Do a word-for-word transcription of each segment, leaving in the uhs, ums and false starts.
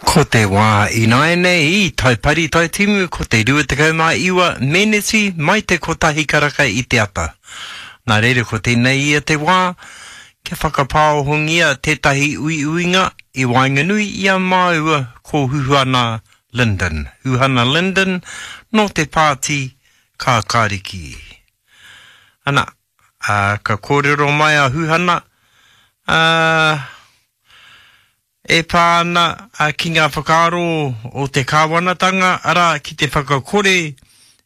Ko te wā ināianei i Taipari Taitimu ko te rua tekau mā iwa meneti mai te kotahi karaka i te ata. Nā reira ko tēnei ia te wā kia whakapāohongia tētahi uiuinga i waenganui i a māua ko Huhana Lyndon. Huhana Lyndon nō te pāti Kākāriki. Ana, ā, ka kōrero mai a Huhana, ā, e pā ana ki ngā whakaaro o te kāwanatanga, arā, ki te whakakore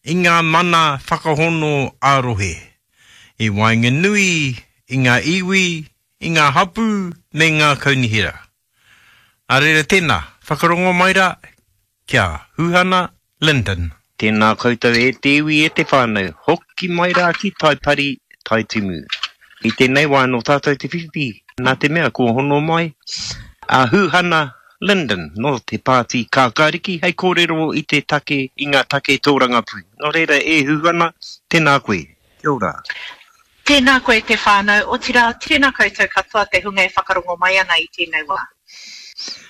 i ngā mana whakahono ā-rohe i waenganui i ngā iwi, i ngā hapū me ngā kaunihera. Nā reira tēnā, whakarongo mai rā ki a Huhana Lyndon. Tēnā koutou e te iwi e te whānau, hoki mai rā ki Taipari, Taitimu. I tēnei wā nō tātou te whiwhi, nā te mea kua hono mai a Huhana Lyndon nō te Pāti Kākāriki hei kōrero i te take, i ngā take tōrangapū. Nō reira e Huhana, tēnā koe. Kia ora. Tēnā koe te whānau, otirā, tēnā koutou katoa te hunga e whakarongo mai ana i tēnei wā.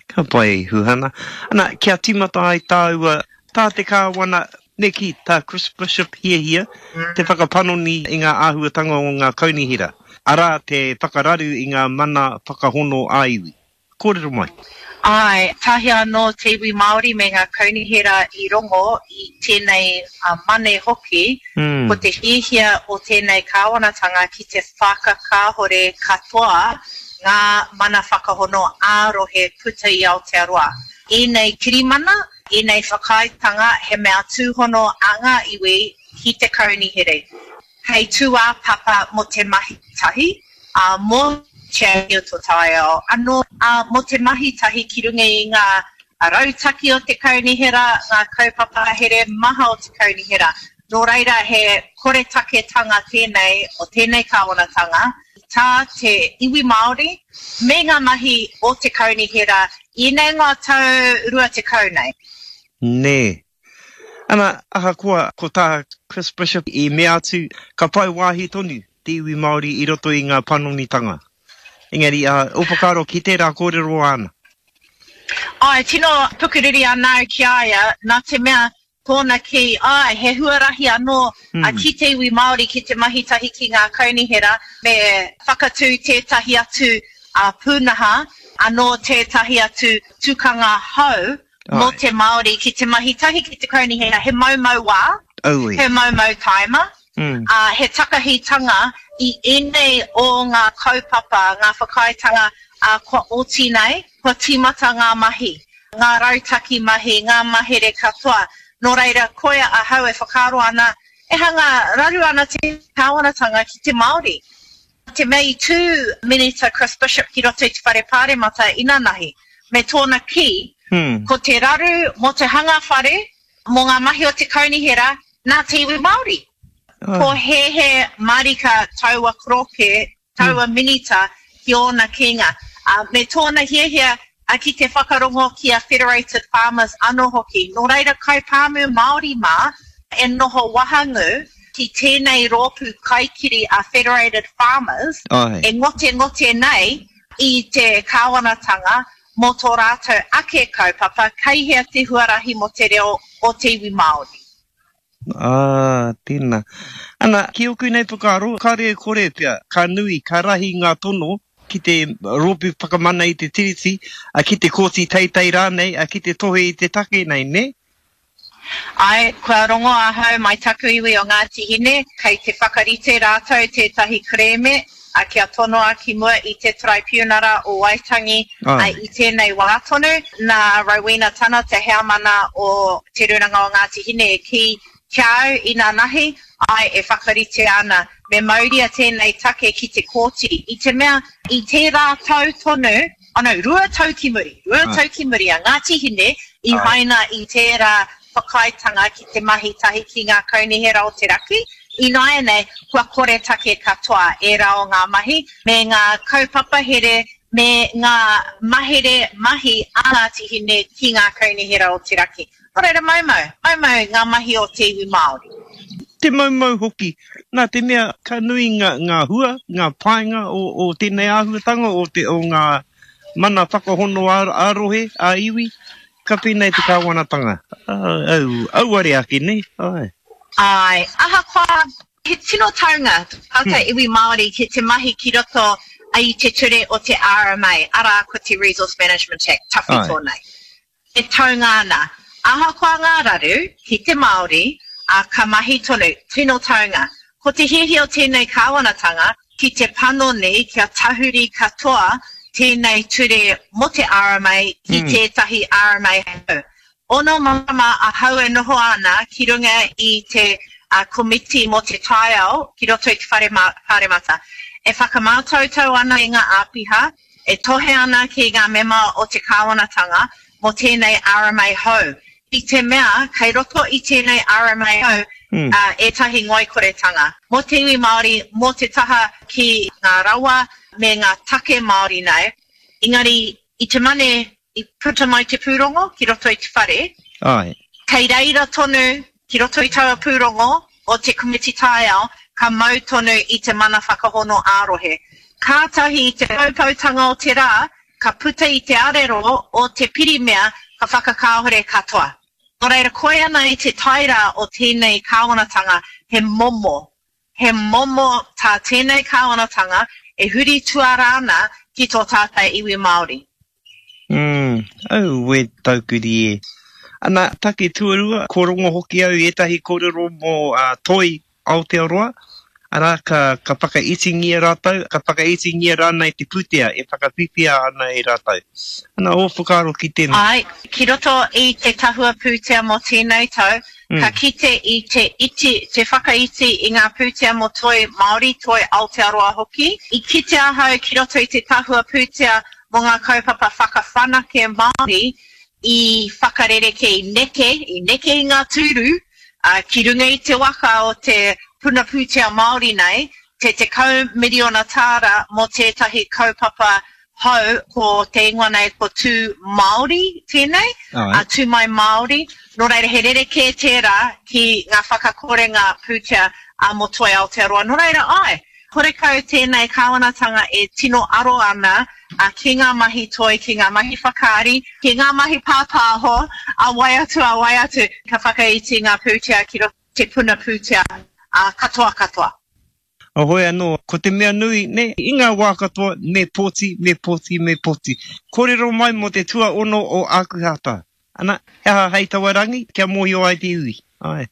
Ka pai, Huhana. Ana, kia tīmata ai tāua, tā te Kāwana, me kī, tā Chris Bishop hiahia, te whakapanoni i ngā āhuatanga o ngā kaunihera, arā, te whakararu i ngā mana whakahono ā-iwi. Kōrero mai. Āe, tahi anō te iwi Māori me ngā kaunihera i rongo i tēnei mane hoki, ko te hiahia o tēnei kāwanatanga ki te whakakāhore katoa ngā mana whakahono ā-rohe puta i Aotearoa. Ēnei kirimana, ēnei whakaaetanga he mea tūhono a ngā iwi ki te kaunihere. Hei tūāpapa mō te mahi tahi, ā, mō te āhua o tō taiao anō, ā, mō te mahi tahi ki runga i ngā rautaki o te kaunihera, ngā kaupapa here maha o te kaunihera. Nō reira, he koretaketanga tēnei o tēnei kāwanatanga i tā te iwi Māori me ngā mahi o te kaunihera i ēnei ngā tau rua tekau nei. Nē. Ana, ahakoa ko tā Chris Bishop i mea atu, ka whai wāhi tonu te iwi Māori i roto i ngā panonitanga. Engari, ā, ō whakaaro ki tērā kōrero āna? Āe, tino pukuriri ana au ki a ia, nā te mea, tōna kī, āe, he huarahi anō ki te iwi Māori ki te mahi tahi ki ngā kaunihera, me whakatū tētahi atu pūnaha, anō tētahi atu tukanga hou mō te Māori ki te mahi tahi ki te kaunihera, he moumou wā, he moumou tāima, ā, he takahitanga i ēnei o ngā kaupapa, ngā whakaaetanga, ā, kua oti nei, kua tīmata ngā mahi, ngā rautaki mahi, ngā mahere katoa. Nō reira, koia ahau e whakaaro ana, e hanga raru ana te kāwanatanga ki te Māori. Te mea i tū Minita Chris Bishop ki roto i te Whare Pāremata inanahi, me tōna kī, ko te raru mō te hanga whare, mō ngā mahi o te kaunihera, nā te iwi Māori. Pōhēhē mārika taua koroke, taua minita ki ōna kīnga, me tōna hiahia ki te whakarongo ki a Federated Farmers anō hoki. Nō reira kaipāmu Māori mā e noho wahangū ki tēnei rōpū kaikiri a Federated Farmers e ngotengote nei i te kāwanatanga mō tō rātou ake kaupapa kei hea te huarahi mō te reo o te iwi Māori. Ā, tēnā. Ana, ki ōku nei whakaaro, kāore e kore pea, ka nui, ka rahi ngā tono ki te Rōpū Whakamana i te Tiriti, ki te Kōti Teitei rānei, ki te tohe i te take nei, nē? Āe, kua rongo ahau mai taku iwi o Ngāti Hine, kei te whakarite rātou tētahi kerēme kia tonoa ki mua i te Taraipiunara o Waitangi i tēnei wā tonu. Nā Rowena Tana, te heamana o Te Rūnanga o Ngāti Hine e kī ki a au inanahi, āe, e whakaritea ana, me mauria tēnei take ki te kōti, i te mea i tērā tau tonu, oh no, rua tau ki muri, rua tau ki muri a Ngāti Hine i haina i tērā whakaaetanga ki te mahi tahi ki ngā kaunihera o te raki, ināianei kua koretake katoa ērā o ngā mahi me ngā kaupapa here me ngā mahere mahi a Ngāti Hine ki ngā kaunihera o te raki. Nō reira maumau, maumau ngā mahi o te iwi Māori. Te maumau hoki, nā te mea ka nui ngā, ngā hua, ngā painga o, o tēnei āhuatanga o te, o ngā mana whakahono ā, ā-rohe, ā-iwi, Ka pēnei te kāwanatanga. Au, auare ake, nē? Āe. Āe. Ahakoa, he tino taunga tā te iwi Māori ki te mahi ki roto i te ture o te R M A, arā ko te Resource Management Act tawhito nei. E taunga ana. Ahakoa ngā raru ki te Māori, ā, ka mahi tonu, tino taunga. Ko te hiahia o tēnei kāwanatanga ki te panoni kia tahuri katoa tēnei ture mō te R M A ki tētahi R M A hou. Ono marama ahau e noho ana ki runga i te komiti mō te taiao ki roto i te whare pāremata. E whakamātautau ana i ngā āpiha, e tohe ana ki ngā mema o te kāwanatanga mō tēnei R M A hou. I te mea, kei roto i tēnei R M A hou ētahi ngoikoretanga. Mō te iwi Māori, mō te taha ki ngā rawa me ngā take Māori nei. Engari, i te mane i puta mai te pūrongo ki roto i te whare, Ai. Kei reira tonu ki roto i taua pūrongo o te komiti taiao, ka mau tonu i te mana whakahono ā-rohe. Kātahi i te poupoutanga o te rā, ka puta i te arero o te pirimia ka whakakāhore katoa. Nō reira, koe ana i te taira o tēnei kāwanatanga, he momo. He momo tā tēnei kāwanatanga e huri tuara ana ki tō tātou iwi Māori. Mm, au e taukuri e. Ana, take tuarua, ko rongo hoki au i ētahi kōrero mō uh, Toi Aotearoa, arā, ka, ka whakaitingia rātou, ka whakaitingia rānei te pūtea e whakawhiwhia ana e rātou. Ana, ō whakaaro ki tēnā? Ai, ki roto i te tahua pūtea mō tēnei tau, mm. ka kite i te iti, te whakaiti i ngā pūtea mō Toi Māori, Toi Aotearoa hoki. I kite ahau ki roto i te tahua pūtea mō ngā kaupapa whakawhanake Māori i whakarereke i neke, i neke i ngā tūru, uh, ki runga i te waka o te puna pūtea Māori nei, te tekau miriona tāra mō tētahi kaupapa hou, ko te ingoa nei ko Tū Māori tēnei, uh, Tū Mai Māori. Nō reira he rerekē tērā ki ngā whakakorenga pūtea uh, mō Toi Aotearoa. Nō reira ai, horekau tēnei kāwanatanga e tino aro ana uh, ki ngā mahi toi, ki ngā mahi whakaari, ki ngā mahi pāpāho, a wai atu, a wai atu, ka whakaiti ngā pūtea ki roto te puna pūtea uh, katoa katoa. Ahoi anō, ko te mea nui, ne, i ngā wā katoa, me pōti, me pōti, me pōti. Kōrero mai mō te tuaono o Ākuhata. Ana, he aha hei taua rangi, kia mōhio ai te iwi. Ai.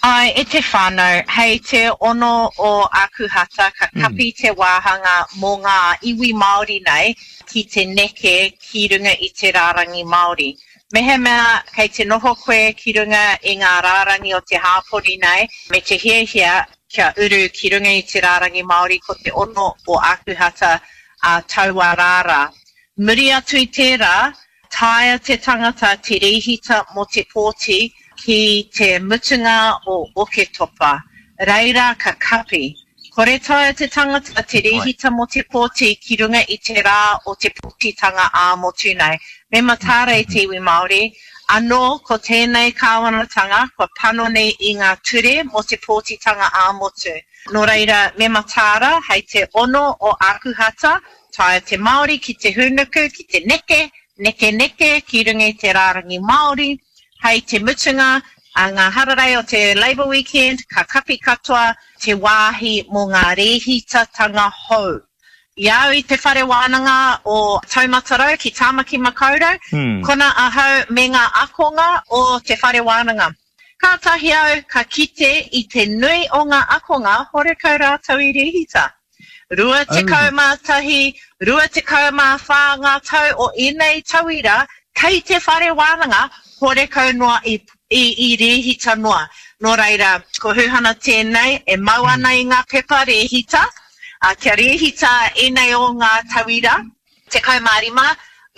Ai, e te whānau, hei te ono o Ākuhata, ka kapi mm. te wāhanga mō ngā iwi Māori nei ki te neke ki runga i te rārangi Māori. Mehemea kei te noho koe ki runga i ngā rārangi o te hāpori nei, me te hiahia kia uru ki runga i te rārangi Māori ko te ono o Ākuhata a taua rāra. Muri atu i tērā, taea te tangata te rēhita mō te pōti ki te mutunga o Oketopa. Reira ka kapi. Kore taea te tangata te rēhita mō te pōti ki runga i te rā o te pōtitanga ā-motu nei. Me mataara i te iwi Māori, anō ko tēnei kāwanatanga kua panoni i ngā ture mō te pōtitanga ā-motu. Nō reira, me mataara hei te ono o Ākuhata, taea te Māori ki te hūnuku, ki te neke, neke neke ki runga i te rārangi Māori, hei te mutunga a ngā hararei o te Labour Weekend, ka kapi katoa te wāhi mō ngā rēhitatanga hou. I au i te whare wānanga o Taumatarau ki Tāmaki Makaurau, hmm. kona ahau me ngā akonga o te whare wānanga. Kātahi au ka kite i te nui o ngā akonga horekau rātou i rēhita. Rua tekau mā tahi, rua tekau mā whā ngā tau o ēnei tauira, kei te whare wānanga, horekau noa i, i, i rēhita noa. Nō reira, ko Huhana tēnei, e mau ana i ngā pepa rēhita, uh, kia rēhita ēnei o ngā tauira, tekau mā rima,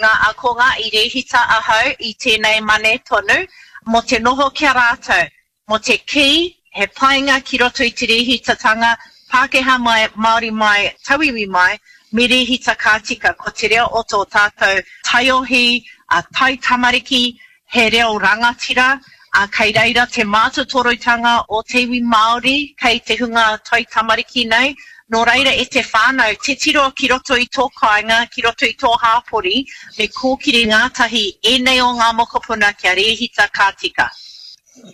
ngā akonga i rēhita ahau i tēnei mane tonu, mō te noho kia rātou, mō te kī, he painga ki roto i te rēhitatanga, Pākehā mai, Māori mai, tauiwi mai, me rēhita ka tika, ko te reo o tō tātou taiohi, a tai tamariki, he reo rangatira, a kei reira te mātotorutanga o te iwi Māori, kei te hunga tai tamariki nei, Nō reira e te whānau, titiro ki roto i tō kāinga, ki roto i tō hāpori, me kōkiri ngātahi ēnei o ngā mokopuna kia rēhita ka tika.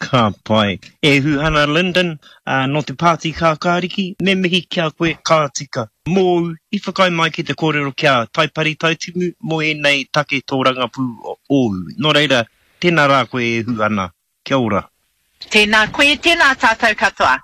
Ka pai. E Huhana Lyndon, nō te Pāti Kākāriki, me mihi ki a koe ka tika. Mōu i whakaae mai ki te kōrero ki a Taipari Taitimu mō ēnei take tōrangapū ōu. Nō reira, tēnā rā koe e Huhana. Kia ora. Tēnā koe, tēnā tātou katoa.